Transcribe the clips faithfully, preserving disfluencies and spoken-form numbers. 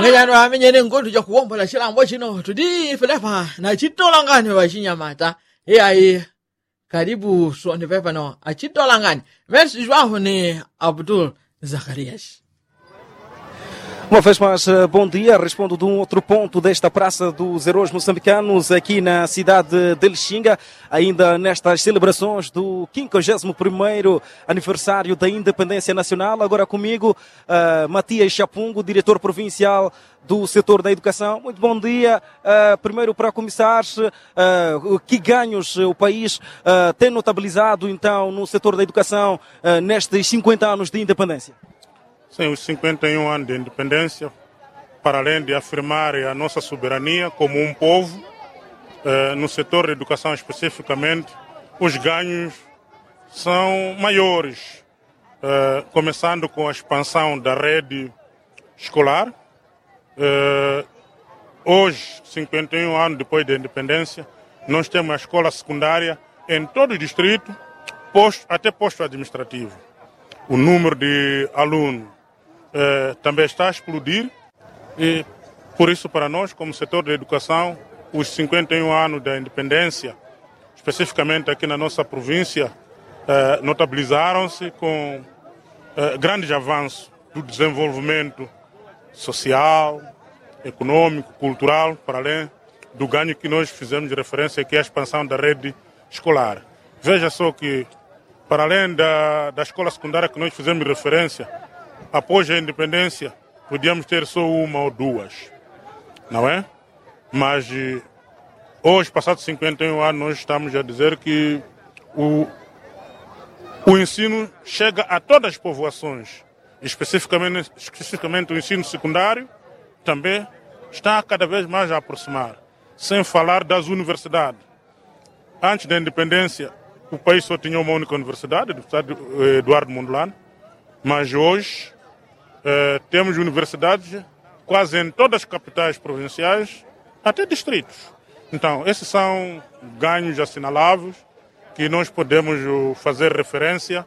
Nganyano amenyene ngondu jakuwombola chilambo chino tudi ife lepa na chitolangani wachinyamata. Iyayi. Kalibu soni pepano achitolangani. Mesi jwaho ni abdul. Zakarias. Uma vez mais, bom dia. Respondo de um outro ponto desta praça dos heróis moçambicanos aqui na cidade de lixinga, ainda nestas celebrações do quinquagésimo primeiro aniversário da independência nacional. Agora comigo, matias chapungo, diretor provincial do setor da educação. Muito bom dia. Primeiro para começar, que ganhos o país tem notabilizado então no setor da educação nestes cinquenta anos de independência? Sem os cinquenta e um anos de independência, para além de afirmar a nossa soberania como um povo, no setor da educação especificamente, os ganhos são maiores, começando com a expansão da rede escolar. Hoje, cinquenta e um anos depois da independência, nós temos a escola secundária em todo o distrito, até posto administrativo. O número de alunos também está a explodir. E por isso para nós, como setor da educação, os cinquenta e um anos da independência, especificamente aqui na nossa província, notabilizaram-se com grandes avanços do desenvolvimento social, econômico, cultural, para além do ganho que nós fizemos referência, que é a expansão da rede escolar. Veja só que, para além da escola secundária que nós fizemos referência, após a independência, podíamos ter só uma ou duas, não é? Mas hoje, passados cinquenta e um anos, nós estamos a dizer que o ensino chega a todas as povoações, especificamente o ensino secundário também está cada vez mais a aproximar, sem falar das universidades. Antes da independência, o país só tinha uma única universidade, do estado eduardo mondolano, mas hoje temos universidades quase em todas as capitais provinciais, até distritos. Então esses são ganhos assinaláveis, que nós podemos fazer referência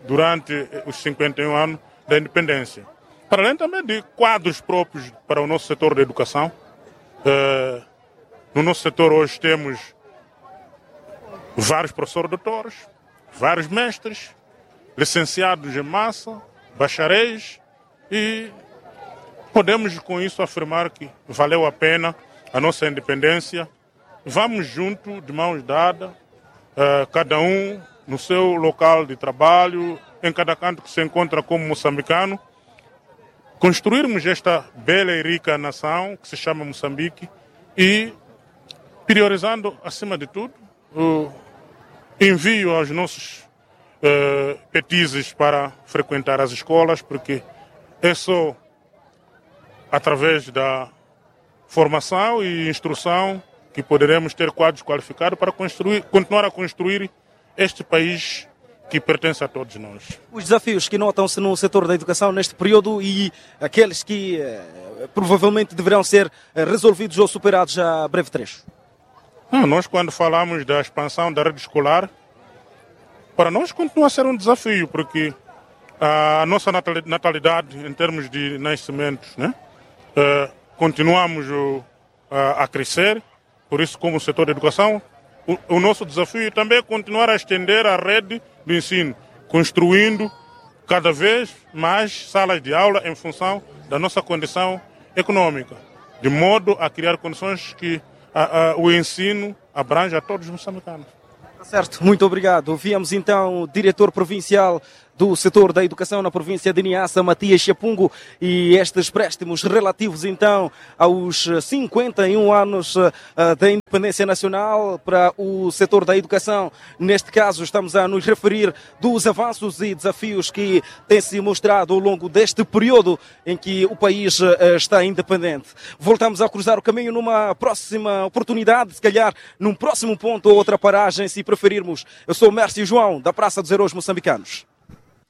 durante os cinquenta e um anos da independência, para além também de quadros próprios para o nosso setor da educação. No nosso setor hoje temos vários professores doutores, vários mestres, licenciados em massa, bacharéis, e podemos com isso afirmar que valeu a pena a nossa independência. Vamos junto de mãos dadas, cada um no seu local de trabalho, em cada canto que se encontra como moçambicano, construirmos esta bela e rica nação que se chama moçambique, e priorizando acima de tudo o envio aos nossos petizes para frequentar as escolas, porque é só através da formação e instrução que poderemos ter quadros qualificados para construir, continuar a construir este país que pertence a todos nós. Os desafios que notam-se no setor da educação neste período e aqueles que provavelmente deverão ser resolvidos ou superados a breve trecho? Nós quando falamos da expansão da rede escolar, para nós continua a ser um desafio, porque a nossa natalidade em termos de nascimentos, continuamos a crescer. Por isso, como setor de educação, o nosso desafio também é continuar a estender a rede do ensino, construindo cada vez mais salas de aula em função da nossa condição econômica, de modo a criar condições que o ensino abranja a todos os moçambicanos. Certo, muito obrigado. Viemos então o diretor provincial do setor da educação na província de niassa matias chapungo, e estes préstimos relativos então aos cinquenta e um anos da independência nacional para o setor da educação. Neste caso estamos a nos referir dos avanços e desafios que têm se mostrado ao longo deste período em que o país está independente. Voltamos a cruzar o caminho numa próxima oportunidade, se calhar num próximo ponto ou outra paragem, se preferirmos. Eu sou o mércio joão da praça dos heróis moçambicanos.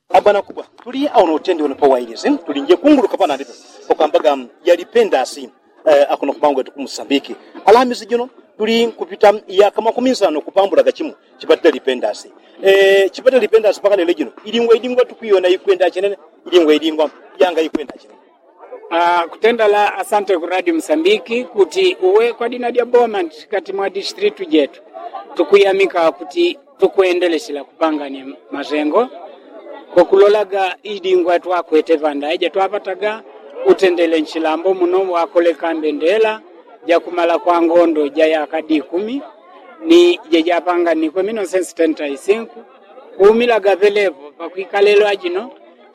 Abana kubwa, tuli awo notendi wano pawailisi tuli nje kunguluka panandipo, pakwambaga yalipendasi. Akuno kubangu etu kumusambiki, alamisi jino tuli nkupita yaka makumi nsano kupambulaga chimu chipatile lipendasi. Chipatile lipendasi pakalele jino ilingwa ilingwa tukwiyona ikwenda chinene. Ilingwa ilingwa yanga ikwenda chinene. Ah, kutendala asante ku radio msambiki kuti uwe kwa dina dya boma ntikati mwa distritu jetu tukuyamika kuti tukwendeleshela kupanganya mazengo kwa kulolaga idingwa twakwete panda ija twapataga utendele nchilambo muno wakoleka mbendela jakumala kwa ngondo ja yaka dikumi ni jejapanganikwe mino sensi tenta isinku kuumilaga pelepo pakwikalelwa jino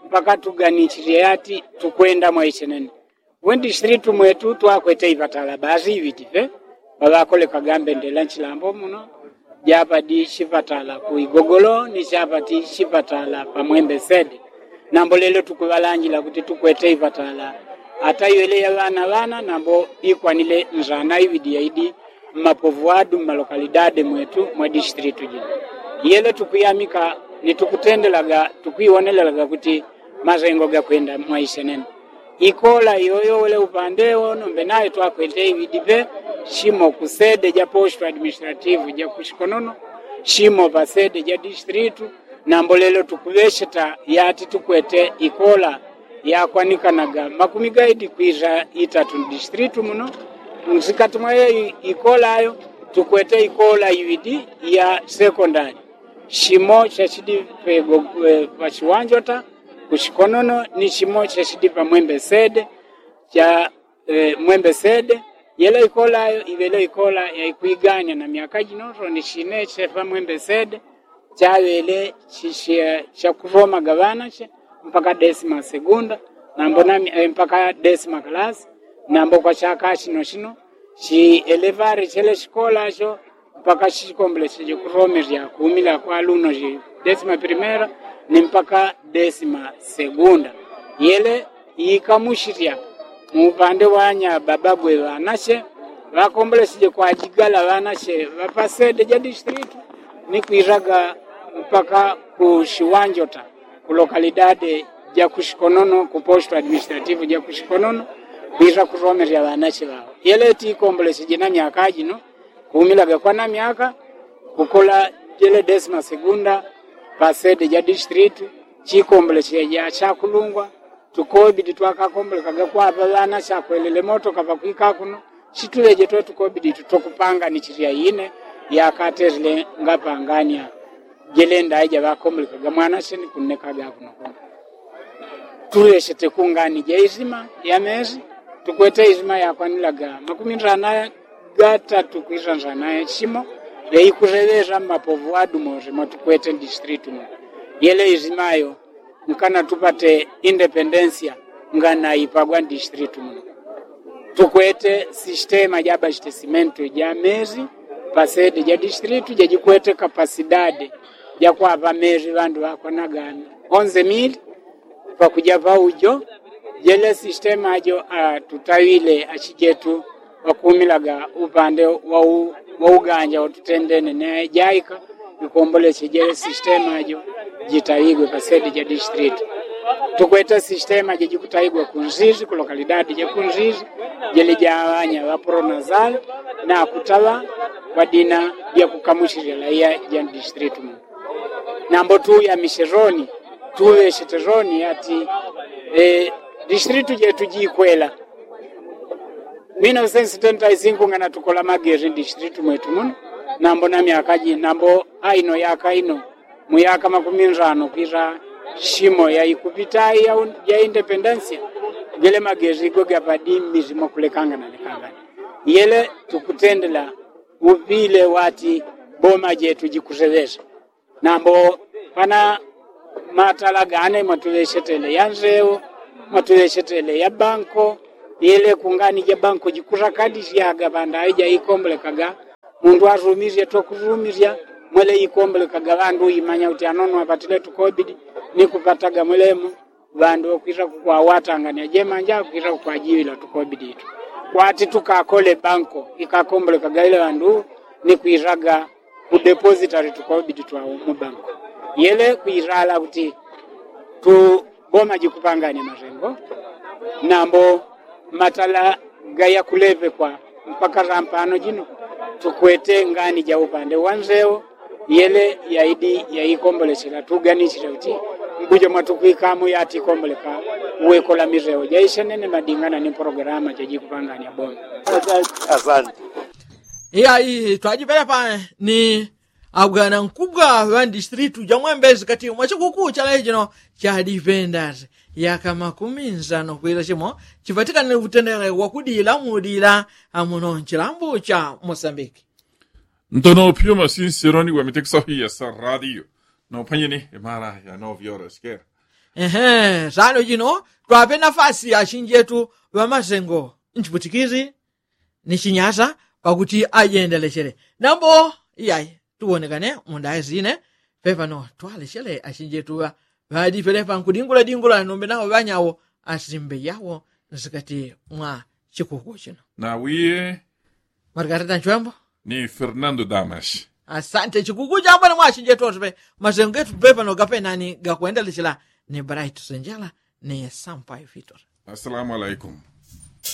mpaka tuganichilye yati tukwenda mwaichenene. Wendishilitu mwetu twakwete ipatala basi iwitipe pawakolekaga mbendela nchilambo muno japa di shipatala ku igogolo ni shapa ti shipatala pamwembe sede. Nambo lelo tukuwalanjila kuti tukwete ipatala ata iwele ya wana wana nambo ikwanile nzana iwidi yaidi mmapovu wadu mmalokalidade mwetu mwa dishitilitu jino. Yele tukuyamika ni tukutendelaga tukwiwonelelaga kuti mazengo gakwenda mwaishenene. Ikola iyoyo wele upande wo nombe nayo twakwete iwidi pe shimo ku sede ja posto administrativu ja kushikonono shimo pa sede ja dishitilitu. Nambo lelo tukuwesheta yati tukwete ikola yakwanikanaga makumi gaidi kwisa itatu dishitilitu muno. Nsikati mwa iyo ikola ayo tukwete ikola iwidi ya sekondali shimo shashidi pego pa shiwanjota kushikonono ni shimo shashidi pamwembe sede sha mwembe sede. Yelo ikola ayo iwelo ikola yaikwiganya na myaka jino toni shine shepa mwembe sede chaŵele shakusomaga ŵanache mpaka desima segunda nambo na mpaka desima kalasi. Nambo kwa chaka chino chino chielevare chele chikola cho mpaka chikombole cheje kusomerya kuumila kwa luno chi desima primera ni mpaka desima segunda. Yele ikamushirya muupande wanya bababwe ŵanache ŵakomboleseje kwajigala ŵanache ŵapasede ja dishitilitu ni kwiraga mpaka ku shiwanjota ku lokalidade ja kushikonono ku posto administrativu ja kushikonono kwira kusomerya ŵanache ŵao. Yele tikomboleseje na myaka jino kuumilaga kwa na myaka kukola jele desima segunda pasede ja dishitilitu chikomboleseje ja chakulungwa tukobidi twakakombolekaga kwapa ŵana chakwelele motoka pakwika kuno. Chituleje twe tukobidi tutokupanganichilya ine yakaterile ngapangania jele ndaija ŵakombolekaga mwana cheni kunnekaga kuno kuno. Tuleshete kungani ja izima ya mezi tukwete izima yakwanilaga makumi nzana gatatu kwisa nzana ya chimo yaikuseŵesa mmapovu adu mose mwatukwete dishitilitu muno. Yele izima yo nkana tupate independensia ngana ipagwa ndishitilitu muno. Tukwete sistema ja abastesimentu ja mezi pasede ja dishitilitu jajikwete kapasidade ja kwapa mezi ŵandu ŵakwanaga onze mili pakuja paujo. Jele sistema jo atutawile achijetu ŵakuumilaga upande wa uganja watutendene ne jaika ikomboleche jele sistema jo jitawigwe pasede ja dishitilitu. Tukwete sistema jejikutawigwa kunzizi ku lokalidade ja kunzizi jele ja ŵanya ŵapronazali na kutaŵa kwa dina lya kukamushilila iya ja dishitilitu muno. Nambo tuyamishe roni tuŵeshete roni ati dishitilitu jetu jikwela. Minosensi tenta isinku ngana tukola magezi ndishitilitu mwetu muno. Nambo na myaka ji nambo aino yaka ino muyaka makumi nzano kwisa shimo yaikupita ya independensia. Gele magezi go gapadi mmizi mwakulekangana lekangana. Yele tukutendela upile wati boma jetu jikuseŵesa. Nambo pana matala gane mwatuŵeshetele ya nzewo mwatuŵeshetele ya banko. Yele kungani ja banko jikusakadisyaga pandaŵe jaikombolekaga mundu asumisye tokusumisya. Mwele ikombolekaga ŵandu uimanya kuti anono apatile tukobidi ni kupataga mwelemo ŵandu ŵakwisa kukwawatangania jemanja kwisa kukwajiŵila tukobidi itu kwati tukakole banko ikakombolekaga ile ŵandu ni kwisaga kudepositali tukobidi twawo mu banko. Yele kwisala kuti tuboma jikupangania masengo nambo matala gayakulepekwa mpaka sampano jino tukwete ngani ja upande wa nzewo. Yele yaidi yaikombolesela tuganichile kuti Kuja mwatukwikamo yatikomboleka. Uwekola misewo jaisenene madingana ni pologalama jajikupanganya bomba. Asante. Iya iyi twajipelepa ni abwana nkubwa ŵa ndistritu ja mwembezi kati mwa chikuku cha lechino cha dipendasi yaka makumi nsano kwila chimo chipatikanile utendele wakudila mudila amuno nchilambu cha mosambiki. Ntono pyo masinseroni wamitekisafiya sa radio. Nopanyeni imara ya novyora sikera. Ehe sano jino twape nafasi ya chinjetu ŵamasengo nchiputikizi ni chinyasa pakuti ajendelechele nambo iyayi tuwonekane mundaya zine. Pepano twalechele achinjetu ŵa ŵadipelepa nkudingula dingula nombe nawo ŵanyawo asimbe yawo nsikati mwa chikuku chino. Nawiye margarita nchwembo ni fernando damas. Asante chikuku chambo ni mwa achinjetu ose pe masengo getu pepano gapenani gakwendelechela ni bright senjala ni sampai fitor. Assalamu alaikum.